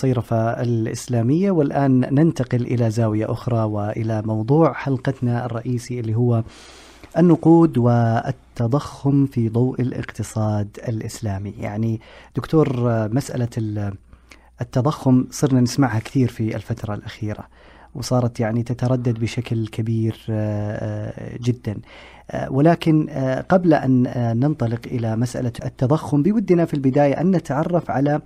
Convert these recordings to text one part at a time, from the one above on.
الصيرفة الإسلامية، والآن ننتقل إلى زاوية أخرى وإلى موضوع حلقتنا الرئيسي اللي هو النقود والتضخم في ضوء الاقتصاد الإسلامي. يعني دكتور، مسألة التضخم صرنا نسمعها كثير في الفترة الأخيرة، وصارت يعني تتردد بشكل كبير جدا، ولكن قبل أن ننطلق إلى مسألة التضخم بودنا في البداية أن نتعرف على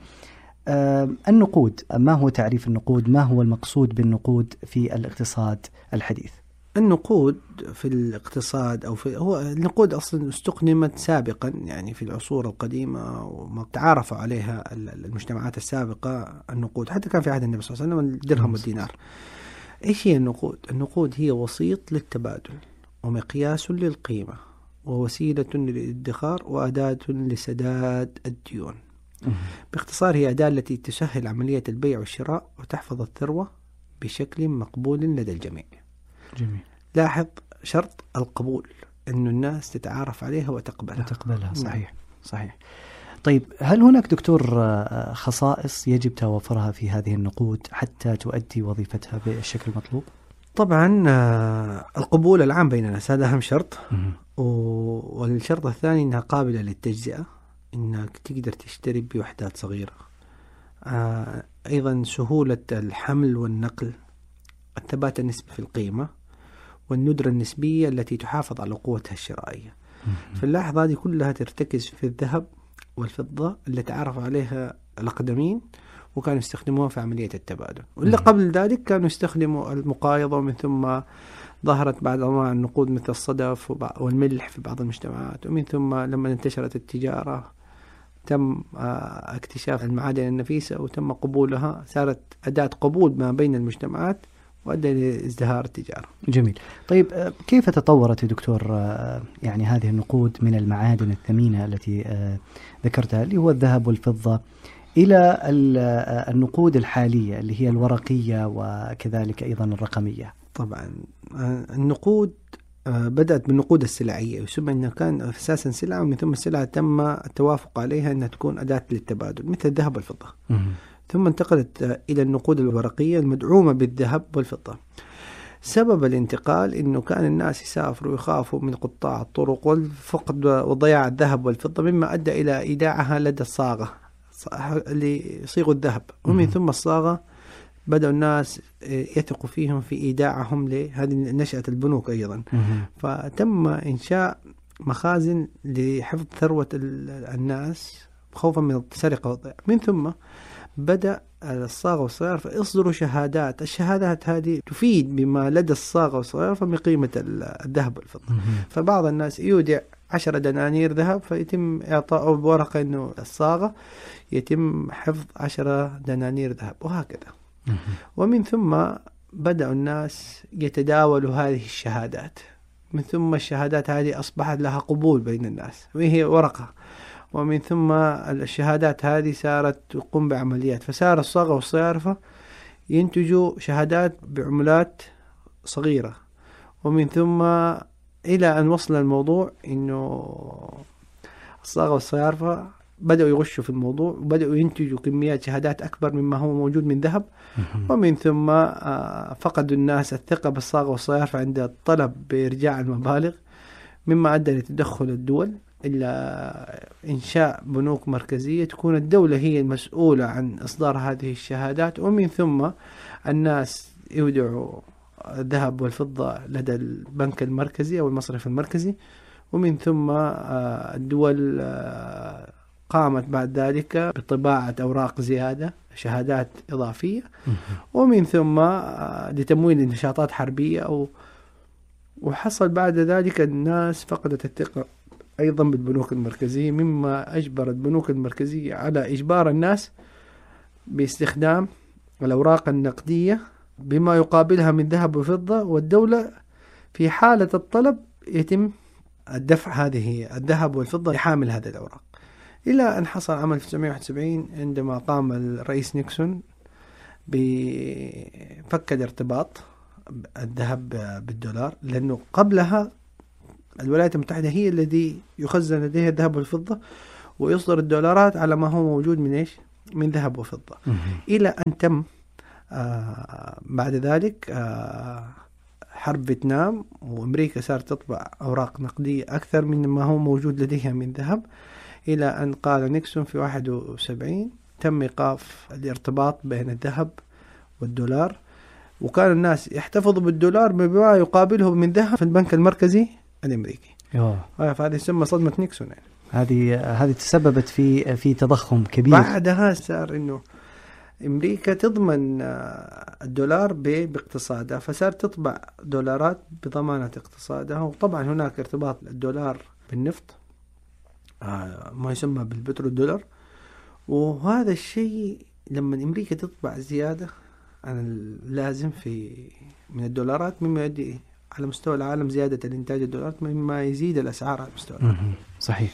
النقود. ما هو تعريف النقود؟ ما هو المقصود بالنقود في الاقتصاد الحديث؟ النقود في الاقتصاد هو النقود أصلا استخدمت سابقا يعني في العصور القديمة، وما تعارفوا عليها المجتمعات السابقة. النقود حتى كان في عهد النبي صلى الله عليه وسلم الدرهم والدينار. إيش هي النقود؟ النقود هي وسيط للتبادل ومقياس للقيمة ووسيلة للادخار وأداة لسداد الديون. باختصار هي أداة التي تسهل عملية البيع والشراء وتحفظ الثروة بشكل مقبول لدى الجميع. جميل. لاحظ شرط القبول، أن الناس تتعارف عليها وتقبلها. صحيح صحيح. طيب، هل هناك دكتور خصائص يجب توفرها في هذه النقود حتى تؤدي وظيفتها بالشكل المطلوب؟ طبعا القبول العام بين الناس هذا أهم شرط، والشرط الثاني أنها قابلة للتجزئة، أنك تقدر تشتري بوحدات صغيرة. أيضا سهولة الحمل والنقل، الثبات النسبي في القيمة، والندرة النسبية التي تحافظ على قوتها الشرائية. في اللحظة هذه كلها ترتكز في الذهب والفضة اللي تعرف عليها الأقدمين وكانوا يستخدموها في عملية التبادل. واللي قبل ذلك كانوا يستخدموا المقايضة، ومن ثم ظهرت بعض أنواع النقود مثل الصدف والملح في بعض المجتمعات، ومن ثم لما انتشرت التجارة تم اكتشاف المعادن النفيسة وتم قبولها، صارت أداة قبول ما بين المجتمعات وأدى لازدهار التجارة. جميل. طيب، كيف تطورت يا دكتور يعني هذه النقود من المعادن الثمينة التي ذكرتها اللي هو الذهب والفضة إلى النقود الحالية اللي هي الورقية وكذلك أيضا الرقمية؟ طبعا النقود بدأت بالنقود السلعية، يسمى أنها كان أساسا سلعة، ومن ثم السلعة تم التوافق عليها أنها تكون أداة للتبادل مثل الذهب والفضة. ثم انتقلت إلى النقود الورقية المدعومة بالذهب والفضة. سبب الانتقال أنه كان الناس يسافروا ويخافوا من قطاع الطرق والفقد وضياع الذهب والفضة، مما أدى إلى إيداعها لدى الصاغة اللي يصيغوا الذهب، ومن ثم الصاغة بدأوا الناس يثقوا فيهم في إيداعهم لهذه نشأة البنوك أيضا. فتم إنشاء مخازن لحفظ ثروة الناس خوفا من السرقة والضياع. من ثم بدأ الصاغة والصيارفة يصدروا شهادات. الشهادات هذه تفيد بما لدى الصاغة والصيارفة من قيمة الذهب والفضة. فبعض الناس يودع 10 دنانير ذهب فيتم إعطائه بورقة أنه الصاغة يتم حفظ 10 دنانير ذهب، وهكذا. ومن ثم بدأ الناس يتداولوا هذه الشهادات، من ثم الشهادات هذه أصبحت لها قبول بين الناس وهي ورقة، ومن ثم الشهادات هذه صارت تقوم بعمليات، فصار الصاغة والصيارفة ينتجوا شهادات بعملات صغيرة، ومن ثم إلى أن وصل الموضوع إنه الصاغة والصيارفة بدأوا يغشوا في الموضوع وبدأوا ينتجوا كميات شهادات أكبر مما هو موجود من ذهب. ومن ثم فقدوا الناس الثقة بالصاغة والصيارفة عند الطلب بإرجاع المبالغ، مما أدى لتدخل الدول إلى إنشاء بنوك مركزية تكون الدولة هي المسؤولة عن إصدار هذه الشهادات، ومن ثم الناس يودعوا الذهب والفضة لدى البنك المركزي أو المصرف المركزي، ومن ثم الدول قامت بعد ذلك بطباعة أوراق زيادة شهادات إضافية، ومن ثم لتمويل نشاطات حربية وحصل بعد ذلك الناس فقدت الثقة أيضا بالبنوك المركزية، مما أجبر البنوك المركزية على إجبار الناس باستخدام الأوراق النقدية بما يقابلها من ذهب وفضة، والدولة في حالة الطلب يتم الدفع هذه الذهب والفضة لحامل هذه الأوراق. إلى أن حصل عام 1971 عندما قام الرئيس نيكسون بفك الارتباط الذهب بالدولار، لأنه قبلها الولايات المتحدة هي الذي يخزن لديها الذهب والفضة ويصدر الدولارات على ما هو موجود من من ذهب وفضة، إلى أن تم بعد ذلك حرب فيتنام، وأمريكا صارت تطبع أوراق نقدية أكثر من ما هو موجود لديها من ذهب، إلى أن قال نيكسون في 71 تم إيقاف الارتباط بين الذهب والدولار، وكان الناس يحتفظوا بالدولار بما يقابله من ذهب في البنك المركزي الأمريكي. فهذه يسمى صدمة نيكسون يعني. هذه تسببت في تضخم كبير. بعدها صار إنه أمريكا تضمن الدولار باقتصادها، فصارت تطبع دولارات بضمانة اقتصادها. وطبعا هناك ارتباط الدولار بالنفط، ما يسمى بالبترول دولار، وهذا الشيء لما أمريكا تطبع زيادة عن اللازم من الدولارات، مما يؤدي على مستوى العالم زيادة الإنتاج الدولارات، مما يزيد الأسعار على مستوى العالم. صحيح.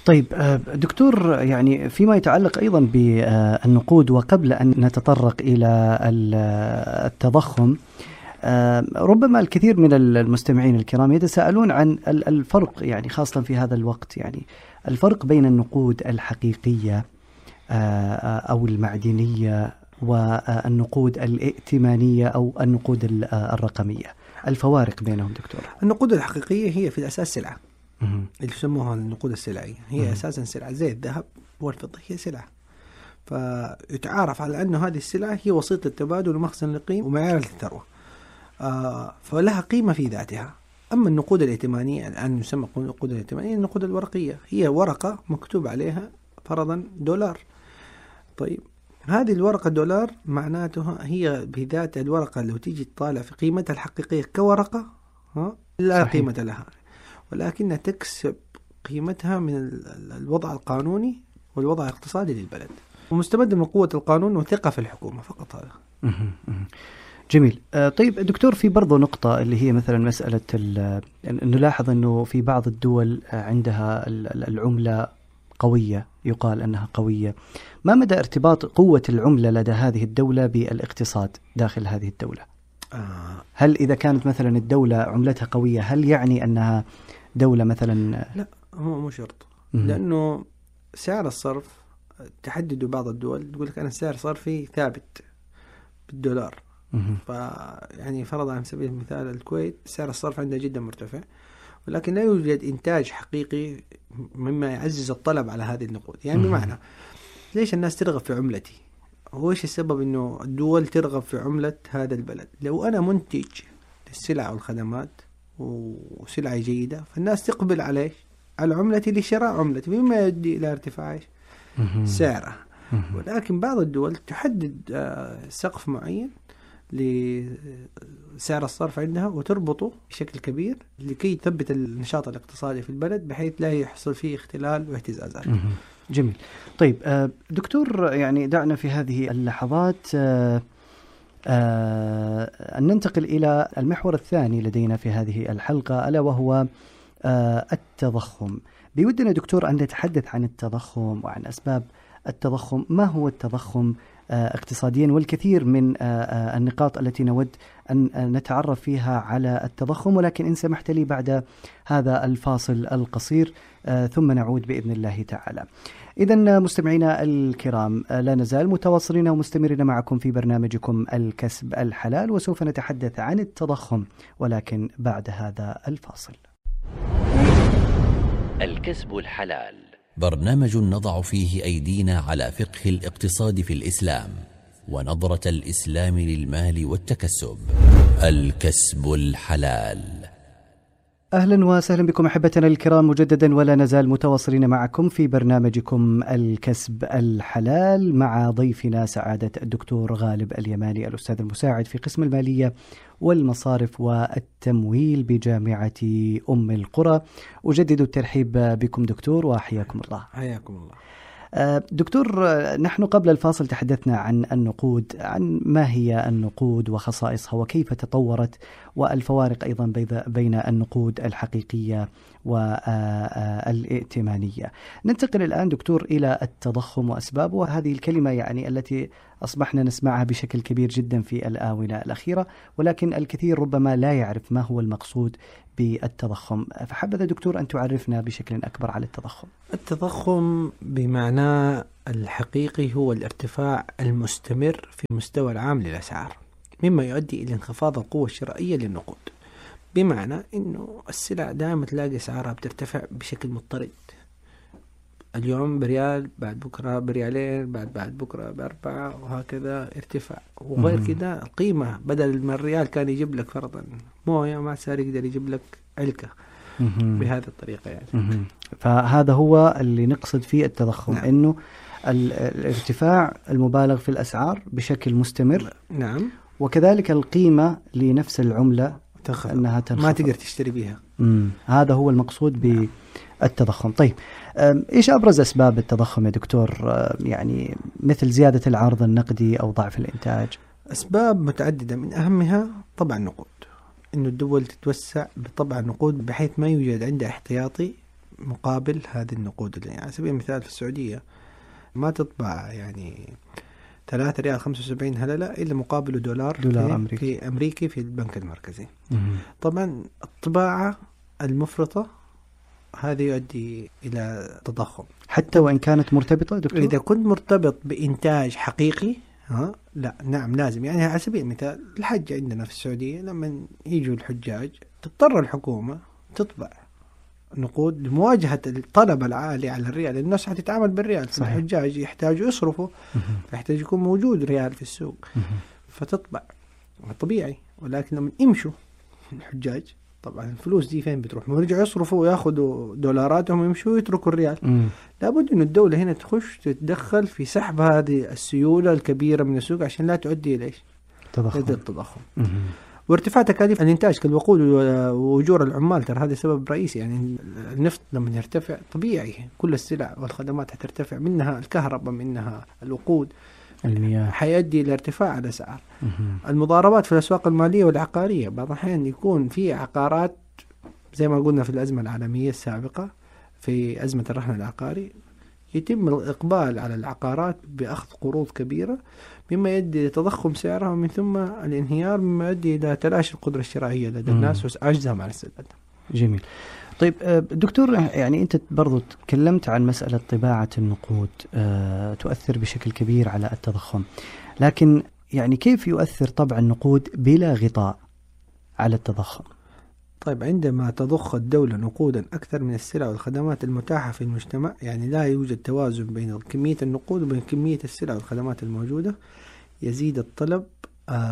طيب دكتور، يعني فيما يتعلق أيضا بالنقود، وقبل أن نتطرق إلى التضخم، ربما الكثير من المستمعين الكرام يتساءلون عن الفرق، يعني خاصة في هذا الوقت، يعني الفرق بين النقود الحقيقية أو المعدنية والنقود الائتمانية أو النقود الرقمية. الفوارق بينهم دكتور. النقود الحقيقية هي في الأساس سلعة، اللي يسموها النقود السلعية، هي أساسا سلعة زي الذهب والفضة، هي سلعة، فيتعارف على أنه هذه السلعة هي وسيط التبادل ومخزن للقيمة ومعيار للثروة، فلها قيمة في ذاتها. أما النقود الائتمانية الآن يسمى النقود الائتمانية النقود الورقية، هي ورقة مكتوب عليها فرضا دولار. طيب هذه الورقة دولار معناتها هي بذات الورقة لو تيجي تطالع في قيمتها الحقيقية كورقة لا صحيح. قيمة لها، ولكنها تكسب قيمتها من الوضع القانوني والوضع الاقتصادي للبلد، ومستمد من قوة القانون وثقة في الحكومة فقط. هذا جميل. طيب دكتور، في برضو نقطة اللي هي مثلا مسألة نلاحظ أنه في بعض الدول عندها العملة قوية، يقال أنها قوية. ما مدى ارتباط قوة العملة لدى هذه الدولة بالاقتصاد داخل هذه الدولة؟ هل إذا كانت مثلا الدولة عملتها قوية هل يعني أنها دولة مثلا؟ لا، هو مو شرط، لأنه سعر الصرف تحدده بعض الدول، تقول لك أنا السعر صرفي ثابت بالدولار، يعني فرضا على سبيل المثال الكويت سعر الصرف عندها جدا مرتفع، ولكن لا يوجد إنتاج حقيقي مما يعزز الطلب على هذه النقود. يعني بمعنى ليش الناس ترغب في عملتي؟ هو إيش السبب إنه الدول ترغب في عملة هذا البلد؟ لو أنا منتج للسلع والخدمات وسلعة جيدة، فالناس تقبل عليه على عملتي لشراء عملتي، مما يؤدي إلى ارتفاع سعرها. ولكن بعض الدول تحدد سقف معين لسعر الصرف عندها وتربطه بشكل كبير لكي تثبت النشاط الاقتصادي في البلد بحيث لا يحصل فيه اختلال واهتزازات. جميل. طيب دكتور، يعني دعنا في هذه اللحظات أن ننتقل إلى المحور الثاني لدينا في هذه الحلقة، ألا وهو التضخم. بودنا دكتور أن نتحدث عن التضخم وعن أسباب التضخم. ما هو التضخم اقتصاديا؟ والكثير من النقاط التي نود أن نتعرف فيها على التضخم، ولكن إن سمحت لي بعد هذا الفاصل القصير ثم نعود بإذن الله تعالى. إذن مستمعينا الكرام، لا نزال متواصلين ومستمرين معكم في برنامجكم الكسب الحلال، وسوف نتحدث عن التضخم ولكن بعد هذا الفاصل. الكسب الحلال، برنامج نضع فيه أيدينا على فقه الاقتصاد في الإسلام ونظرة الإسلام للمال والتكسب. الكسب الحلال. أهلا وسهلا بكم أحبتنا الكرام مجددا، ولا نزال متواصلين معكم في برنامجكم الكسب الحلال مع ضيفنا سعادة الدكتور غالب اليماني، الأستاذ المساعد في قسم المالية والمصارف والتمويل بجامعة أم القرى. أجدد الترحيب بكم دكتور وحياكم الله. حياكم الله دكتور. نحن قبل الفاصل تحدثنا عن النقود، عن ما هي النقود وخصائصها وكيف تطورت، والفوارق أيضا بين النقود الحقيقية والائتمانية. ننتقل الآن دكتور إلى التضخم وأسبابه، وهذه الكلمة يعني التي أصبحنا نسمعها بشكل كبير جدا في الآونة الأخيرة، ولكن الكثير ربما لا يعرف ما هو المقصود بالتضخم. فحبذا دكتور أن تعرفنا بشكل أكبر على التضخم. التضخم بمعنى الحقيقي هو الارتفاع المستمر في المستوى العام للأسعار، مما يؤدي إلى انخفاض القوة الشرائية للنقود. بمعنى أنه السلع دائما تلاقي أسعارها بترتفع بشكل مضطرد، اليوم بريال، بعد بكرة بريالين، بعد بكرة ب4، وهكذا ارتفاع. وغير كده القيمة بدل ما الريال كان يجيب لك فرضا موية، ما صار يقدر يجيب لك علكة بهذه الطريقة يعني. فهذا هو اللي نقصد فيه التضخم. نعم. إنه الارتفاع المبالغ في الأسعار بشكل مستمر. نعم. وكذلك القيمة لنفس العملة أنها تنخفض، ما تقدر تشتري بها. هذا هو المقصود بالتضخم. طيب إيش أبرز أسباب التضخم يا دكتور؟ يعني مثل زيادة العرض النقدي أو ضعف الإنتاج. أسباب متعددة، من أهمها طبعا النقود، إنه الدول تتوسع بطبع النقود بحيث ما يوجد عندها احتياطي مقابل هذه النقود. يعني على سبيل المثال في السعودية ما تطبع يعني 3 ريال 75 هللة إلا مقابله دولار أمريكي في البنك المركزي. طبعا الطباعة المفرطة هذا يؤدي إلى تضخم، حتى وإن كانت مرتبطة دكتور. إذا كنت مرتبط بإنتاج حقيقي لا، نعم لازم. يعني على سبيل المثال الحج عندنا في السعودية، لما يجوا الحجاج تضطر الحكومة تطبع نقود لمواجهة الطلب العالي على الريال. الناس حتتعامل بالريال، الحجاج يحتاجوا يصرفوا، يحتاج يكون موجود ريال في السوق، فتطبع طبيعي. ولكن لما يمشوا الحجاج طبعا الفلوس دي فين بتروح؟ ما يرجعوا يصرفوا وياخذوا دولاراتهم ويمشوا ويتركوا الريال. لابد إنه الدولة هنا تخش تتدخل في سحب هذه السيولة الكبيرة من السوق عشان لا تؤدي إلى التضخم. وارتفاع تكاليف الإنتاج كالوقود وأجور العمال، ترى هذا سبب رئيسي. يعني النفط لما يرتفع طبيعي كل السلع والخدمات حترتفع، منها الكهرباء، منها الوقود، المياه، حيؤدي إلى ارتفاع الأسعار. المضاربات في الأسواق المالية والعقارية، بعض الأحيان يكون في عقارات زي ما قلنا في الأزمة العالمية السابقة، في أزمة الرهن العقاري، يتم الإقبال على العقارات بأخذ قروض كبيرة، مما يؤدي إلى تضخم سعرها، ومن ثم الانهيار، مما يؤدي إلى تلاشي القدرة الشرائية لدى الناس وعجزهم عن السداد. جميل. طيب دكتور، يعني أنت برضو تكلمت عن مسألة طباعة النقود تؤثر بشكل كبير على التضخم، لكن يعني كيف يؤثر طبع النقود بلا غطاء على التضخم؟ طيب، عندما تضخ الدولة نقودا أكثر من السلع والخدمات المتاحة في المجتمع، يعني لا يوجد توازن بين كمية النقود وبين كمية السلع والخدمات الموجودة، يزيد الطلب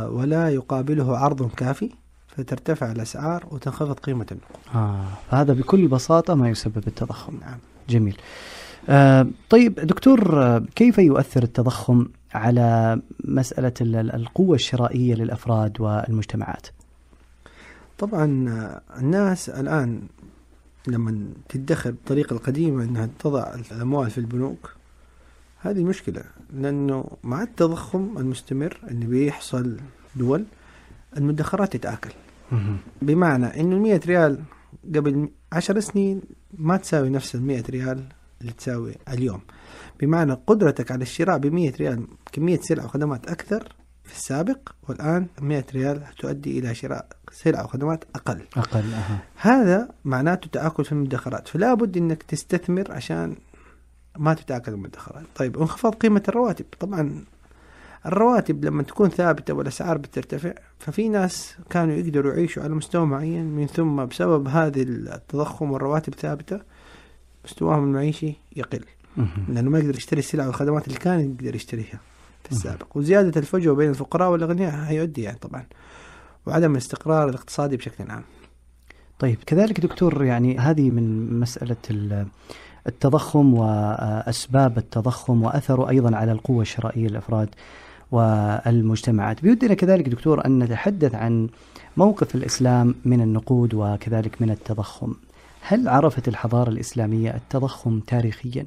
ولا يقابله عرض كافي، فترتفع الأسعار وتنخفض قيمة النقود. فهذا بكل بساطة ما يسبب التضخم. نعم. جميل. طيب دكتور، كيف يؤثر التضخم على مسألة القوة الشرائية للأفراد والمجتمعات؟ طبعا الناس الآن لما تدخر بالطريقة القديمة أنها تضع الأموال في البنوك، هذه مشكلة، لأنه مع التضخم المستمر اللي بيحصل دول، المدخرات تتآكل. بمعنى أنه 100 ريال قبل 10 سنين ما تساوي نفس 100 ريال اللي تساوي اليوم. بمعنى قدرتك على الشراء ب100 ريال كمية سلع وخدمات أكثر في السابق، والآن 100 ريال تؤدي إلى شراء سلع وخدمات أقل. هذا معناته تآكل في المدخرات، فلا بد أنك تستثمر عشان ما تتآكل المدخرات. طيب، انخفاض قيمة الرواتب. طبعا الرواتب لما تكون ثابتة والأسعار بترتفع، ففي ناس كانوا يقدروا يعيشوا على مستوى معين، من ثم بسبب هذه التضخم والرواتب ثابتة مستواهم المعيشي يقل، لأنه ما يقدر يشتري السلع والخدمات اللي كان يقدر يشتريها في السابق. وزيادة الفجوة بين الفقراء والأغنياء هيؤدي يعني طبعا وعدم الاستقرار الاقتصادي بشكل عام. طيب، كذلك دكتور، يعني هذه من مسألة التضخم وأسباب التضخم وأثره أيضا على القوة الشرائية للأفراد والمجتمعات. بيودنا كذلك دكتور أن نتحدث عن موقف الإسلام من النقود وكذلك من التضخم. هل عرفت الحضارة الإسلامية التضخم تاريخيا؟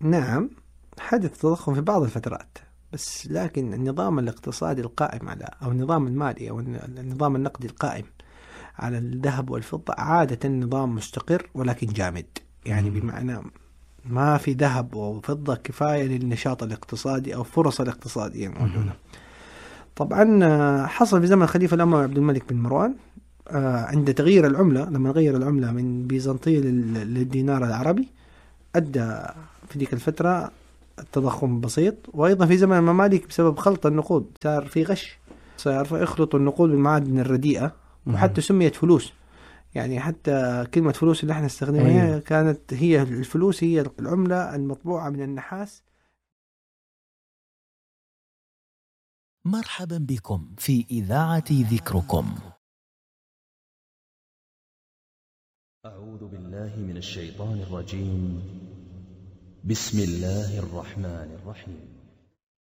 نعم، حدث تضخم في بعض الفترات، بس لكن النظام الاقتصادي القائم على، أو النظام المالي أو النظام النقدي القائم على الذهب والفضة عادة نظام مستقر ولكن جامد. يعني بمعنى ما في ذهب وفضة كفاية للنشاط الاقتصادي أو فرص الاقتصادية موجودة. طبعا حصل في زمن الخليفة الأموي عبد الملك بن مروان عند تغيير العملة، لما غير العملة من بيزنطية للدينار العربي، أدى في ذيك الفترة التضخم بسيط. وأيضا في زمن المماليك بسبب خلط النقود صار في غش، صار يخلطوا النقود بالمعادن الرديئة، وحتى سميت فلوس. يعني حتى كلمة فلوس اللي احنا نستخدمها كانت هي الفلوس، هي العملة المطبوعة من النحاس. مرحبا بكم في إذاعة ذكركم. أعوذ بالله من الشيطان الرجيم. بسم الله الرحمن الرحيم.